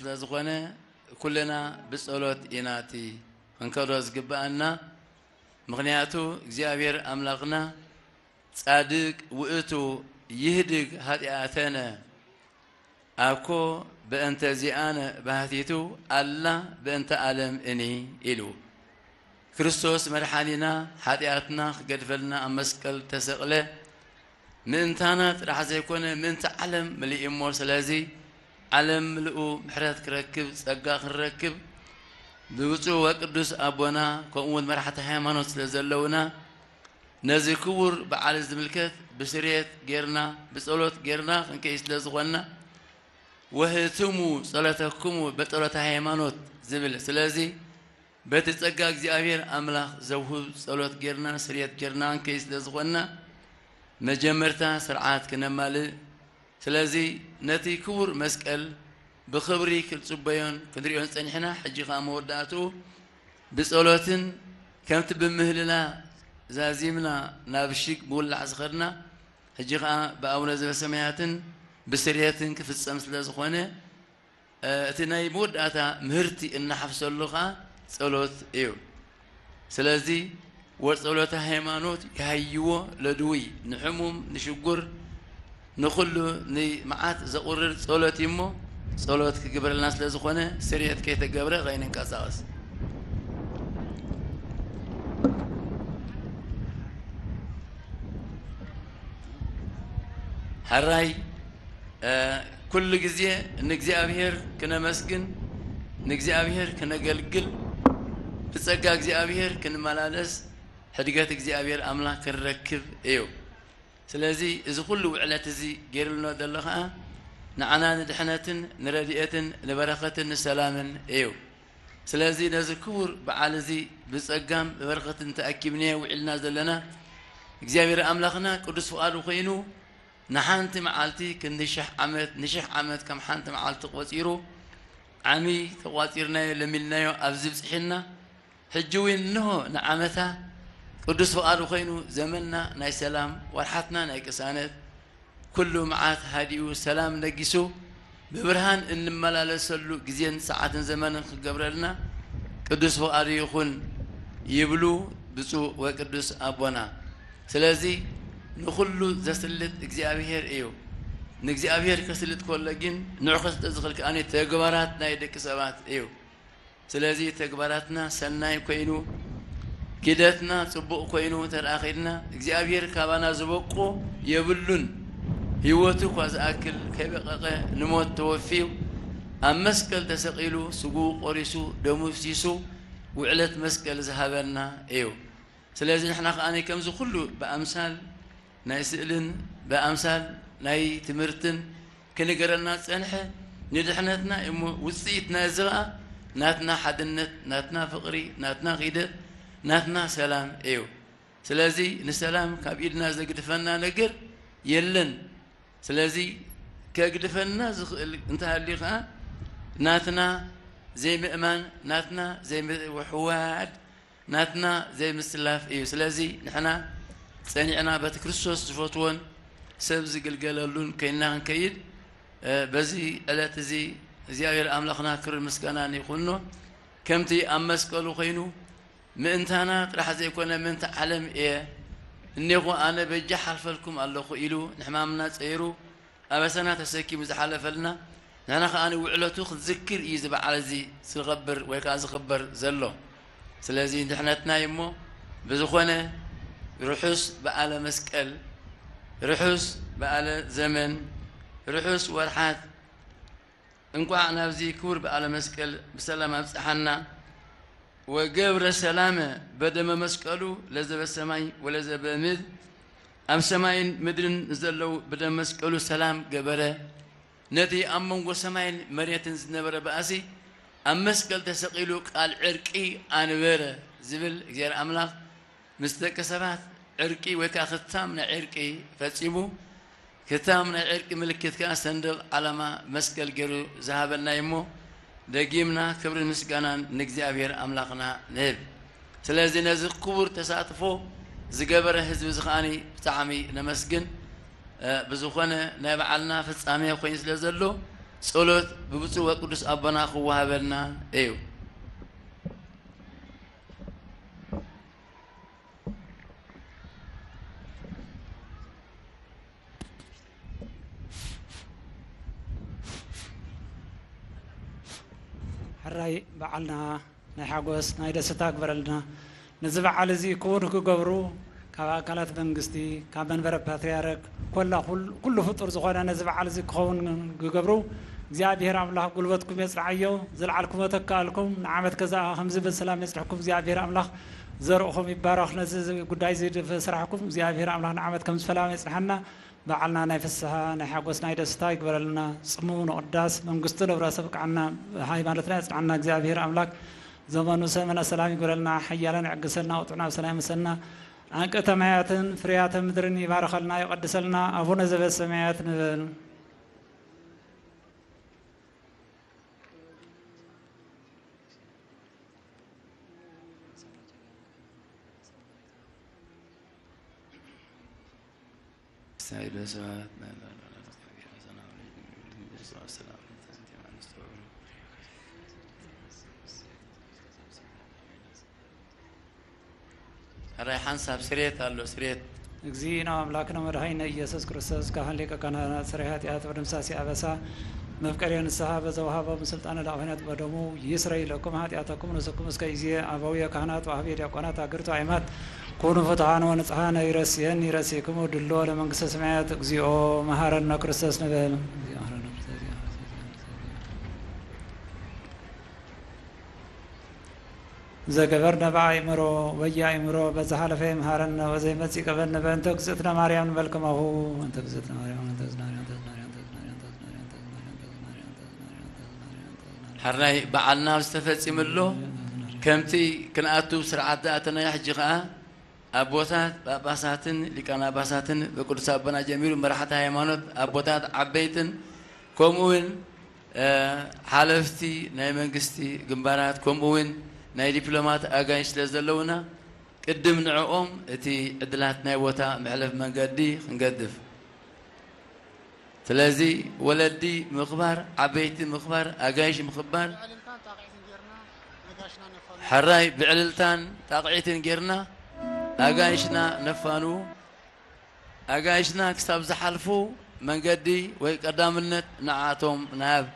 ስለ ዝኾነ ኩልና ብጸሎት ኢና እቲ ክንከዶ ዝግብኣና። ምኽንያቱ እግዚኣብሔር ኣምላኽና ጻድቅ ውእቱ ይህድግ ኃጢኣተነ ኣኮ በእንተ ዚኣነ ባህቲቱ ኣላ በእንተ ዓለም እኒ ኢሉ። ክርስቶስ መድሓኒና ኃጢኣትና ክገድፈልና ኣብ መስቀል ተሰቕለ። ምእንታና ጥራሕ ዘይኮነ ምእንቲ ዓለም ምልእ እሞ። ስለዚ ዓለም ምልኡ ምሕረት ክረክብ ጸጋ ክንረክብ ብብፁዕ ወቅዱስ ኣቦና ከምኡ እውን መራሕቲ ሃይማኖት ስለ ዘለውና ነዚ ክቡር በዓል ዝምልከት ብስርየት ጌርና ብጸሎት ጌርና ክንከይ ስለ ዝኾንና ወህትሙ ጸሎተኩሙ በጸሎተ ሃይማኖት ዝብል። ስለዚ በቲ ጸጋ እግዚኣብሔር ኣምላኽ ዘውህብ ጸሎት ጌርና ስርየት ጌርና ክንከይ ስለ ዝኾንና መጀመርታ ስርዓት ክነማልእ። ስለዚ ነቲ ክቡር መስቀል ብኽብሪ ክንጽበዮን ክንሪኦን ጸኒሕና። ሕጂ ኸኣ መወዳእትኡ ብጸሎትን ከምቲ ብምህልላ ዛዚምና ናብ ሽግ ምውላዕ ዝኸድና ሕጂ ኸኣ ብኣቡነ ዘበሰማያትን ብስርየትን ክፍጸም ስለ ዝኾነ እቲ ናይ መወዳእታ ምህርቲ እናሓፍሰሉ ኸዓ ጸሎት እዩ። ስለዚ ወጸሎተ ሃይማኖት ይሃይዎ ለድውይ፣ ንሕሙም፣ ንሽጉር፣ ንኹሉ ንመዓት ዘቑርር ጸሎት እዩ እሞ ጸሎት ክግበረልና ስለ ዝኾነ ስርየት ከይተገብረ ኸይንንቀሳቐስ። ሕራይ ኩሉ ግዜ ንእግዚኣብሔር ክነመስግን ንእግዚኣብሔር ክነገልግል ብጸጋ እግዚኣብሔር ክንመላለስ ሕድገት እግዚኣብሔር ኣምላኽ ክንረክብ እዩ። ስለዚ እዚ ኩሉ ውዕለት እዚ ገይርልና ዘሎ ኸኣ ንዓና ንድሕነትን ንረድኤትን ንበረኸትን ንሰላምን እዩ። ስለዚ ነዚ ክቡር በዓል እዚ ብጸጋን ብበረኸትን ተኣኪብናዮ ውዒልና ዘለና እግዚኣብሔር ኣምላኽና ቅዱስ ፍቓዱ ኮይኑ ንሓንቲ መዓልቲ ክንዲ ሽሕ ዓመት ንሽሕ ዓመት ከም ሓንቲ መዓልቲ ቆጺሩ ዓሚ ተቋጺርናዮ ለሚድናዮ ኣብዚ ብጽሒና ሕጂ እውን እንሆ ንዓመታ ቅዱስ ፍቓዱ ኮይኑ ዘመንና ናይ ሰላም ወርሓትና ናይ ቅሳነት ኩሉ መዓት ሃዲኡ ሰላም ነጊሱ ብብርሃን እንመላለሰሉ ግዜን ሰዓትን ዘመንን ክገብረልና ቅዱስ ፍቓዱ ይኹን ይብሉ ብፁዕ ወቅዱስ ኣቦና። ስለዚ ንኹሉ ዘስልጥ እግዚኣብሔር እዩ። ንእግዚኣብሔር ከስልጥ ከሎ ግን ንዑ ከስልጥ ዝኽእል ከኣ ተግባራት ናይ ደቂ ሰባት እዩ። ስለዚ ተግባራትና ሰናይ ኮይኑ ኪደትና ጽቡቕ ኮይኑ ተረኣኺድና እግዚኣብሔር ካባና ዝበቆ የብሉን። ህይወቱ እኳ ዝኣክል ከይበቐቐ ንሞት ተወፊዩ ኣብ መስቀል ተሰቒሉ ስጉኡ ቆሪሱ ደሙ ፍሲሱ ውዕለት መስቀል ዝሃበና እዩ። ስለዚ ንሕና ከኣ ከምዚ ኩሉ ብኣምሳል ናይ ስእልን ብኣምሳል ናይ ትምህርትን ክንገረና ጸንሐ ንድሕነትና እሞ ውጽኢት ናይዚ ኸኣ ናትና ሓድነት ናትና ፍቕሪ ናትና ኺደት ናትና ሰላም እዩ። ስለዚ ንሰላም ካብ ኢድና ዘግድፈና ነገር የለን። ስለዚ ከግድፈና ዝኽእል እንተሃልዩ ኸኣ ናትና ዘይምእማን ናትና ዘይምውሕዋድ ናትና ዘይምስላፍ እዩ። ስለዚ ንሕና ጸኒዕና በቲ ክርስቶስ ዝፈትዎን ሰብ ዝግልገለሉን ኮይንና ክንከይድ በዚ ዕለት እዚ እግዚኣብሔር ኣምላኽና ክብርን ምስጋናን ይኹኖ። ከምቲ ኣብ መስቀሉ ኮይኑ ምእንታና ጥራሕ ዘይኮነ ምእንቲ ዓለም እየ እኔኹ ኣነ በጃ ሓልፈልኩም ኣለኹ ኢሉ ንሕማምና ጸይሩ ኣበሳና ተሰኪሙ ዝሓለፈልና ንሕና ከኣ ውዕለቱ ክንዝክር እዩ እዚ በዓል እዚ ዝኸብር ወይ ከኣ ዝኽበር ዘሎ። ስለዚ ድሕነትና እዩ እሞ ብዝኾነ ርሑስ በዓለ መስቀል፣ ርሑስ በዓለ ዘመን፣ ርሑስ ወርሓት እንቋዕ ናብዚ ክቡር በዓለ መስቀል ብሰላም ኣብጽሓና። ወገብረ ሰላመ በደመ መስቀሉ ለዘበ ሰማይ ወለዘበ ምድር፣ ኣብ ሰማይን ምድርን ዘለዉ ብደም መስቀሉ ሰላም ገበረ። ነቲ ኣብ መንጎ ሰማይን መሬትን ዝነበረ ባእሲ ኣብ መስቀል ተሰቒሉ ቃል ዕርቂ ኣንበረ ዝብል እግዚኣብሔር ኣምላኽ ምስ ደቂ ሰባት ዕርቂ ወይ ከዓ ክታም ናይ ዕርቂ ፈጺሙ ክታም ናይ ዕርቂ ምልክት ከዓ ሰንደቕ ዓላማ መስቀል ገይሩ ዝሃበና እዩ እሞ ደጊምና ክብርን ምስጋናን ንእግዚኣብሔር ኣምላኽና ንህብ። ስለዚ ነዚ ክቡር ተሳትፎ ዝገበረ ህዝቢ እዚ ከዓኒ ብጣዕሚ ነመስግን። ብዝኾነ ናይ በዓልና ፍጻሜ ኮይኑ ስለ ዘሎ ጸሎት ብብፁዕ ወቅዱስ ኣቦና ክወሃበልና እዩ። ሕራይ በዓልና ናይ ሓጎስ ናይ ደስታ ግበረልና። ነዚ በዓል እዚ ክውን ክገብሩ ካብ ኣካላት መንግስቲ፣ ካብ መንበረ ፓትርያርክ፣ ኮላ ኩል- ኩሉ ፍጡር ዝኾነ ነዚ በዓል እዚ ክኸውን ክገብሩ እግዚኣብሔር ኣምላኽ ጉልበትኩም የጽንዓዮ። ዘልዓልኩሞ ተካኣልኩም ንዓመት ከዛ ከምዚ ብሰላም የጽንሕኩም። እግዚኣብሔር ኣምላኽ ዘርእኹም ይባረኽ። ነዚ ጉዳይ እዚ ስራሕኩም እግዚኣብሔር ኣምላኽ ንዓመት ከም ዝፈላም የጽንሓና። በዓልና ናይ ፍስሓ ናይ ሓጎስ ናይ ደስታ ይግበረልና። ጽምው ንቕዳስ መንግስቱ ንብረሰብ ቃዕና ሃይማኖትና የጽንዓና። እግዚኣብሔር ኣምላክ ዘመኑ ሰመና ሰላም ይግበረልና። ሓያለን ይዕግሰልና፣ ውጡዕና ብሰላም ይመሰልና። ኣንቅተ ማያትን ፍርያተ ምድርን ይባርኸልና፣ ይቐድሰልና። ኣቡነ ዘበሰማያት ንበል። ሕራይ ሓንሳብ ስሬት ኣሎ፣ ስሬት። እግዚእነ ኣምላክነ መድኃኒነ ኢየሱስ ክርስቶስ ካህን ሊቀ ካህናት ስርየ ኃጢአት ወደምሳሴ አበሳ መፍቀሬ ንስሐ በዘወሃቦም ስልጣነ ለአብነት በደሙ ይስረይ ለኩም ኃጢአተኩም ንስኩም እስከ ይዜ አበውየ ካህናት ወአህቤ ዲያቆናት አግርቱ አይማት ኩኑ ፍትሐን ወንጽሐን ይረስየን ይረስይክሙ ድሎ ለመንግስተ ሰማያት። እግዚኦ መሐረነ ክርስቶስ ንበል። ዘገበርነ በአእምሮ ወየአእምሮ በዘሓለፈ ይምሃረነ ወዘይመጽእ ይቀበልነ በእንተ እግዝእትነ ማርያም ንበል ከማሁ። እንተ እግዝእትነ ማርያም እንተ እግዝእትነ ማርያም እንተ እግዝእትነ ማርያም ሕራይ በዓልና ዝተፈጺሙ ኣሎ። ከምቲ ክንኣቱ ስርዓት ዝኣተናዮ ሕጂ ኸኣ ኣቦታት ጳጳሳትን ሊቃነ ጳጳሳትን ብቅዱስ ኣቦና ጀሚሩ መራሕቲ ሃይማኖት ኣቦታት ዓበይትን ከምኡ እውን ሓለፍቲ ናይ መንግስቲ ግንባራት ከምኡ እውን ናይ ዲፕሎማት ኣጋይሽ ስለ ዘለውና ቅድም ንዕኦም እቲ ዕድላት ናይ ቦታ መሕለፍ መንገዲ ክንገድፍ ስለዚ ወለዲ ምኽባር፣ ዓበይቲ ምኽባር፣ ኣጋይሽ ምኽባር፣ ሕራይ ብዕልልታን ጣቕዒትን ጌርና ኣጋይሽና ነፋኑ። ኣጋይሽና ክሳብ ዝሓልፉ መንገዲ ወይ ቀዳምነት ንዓቶም ንሃብ።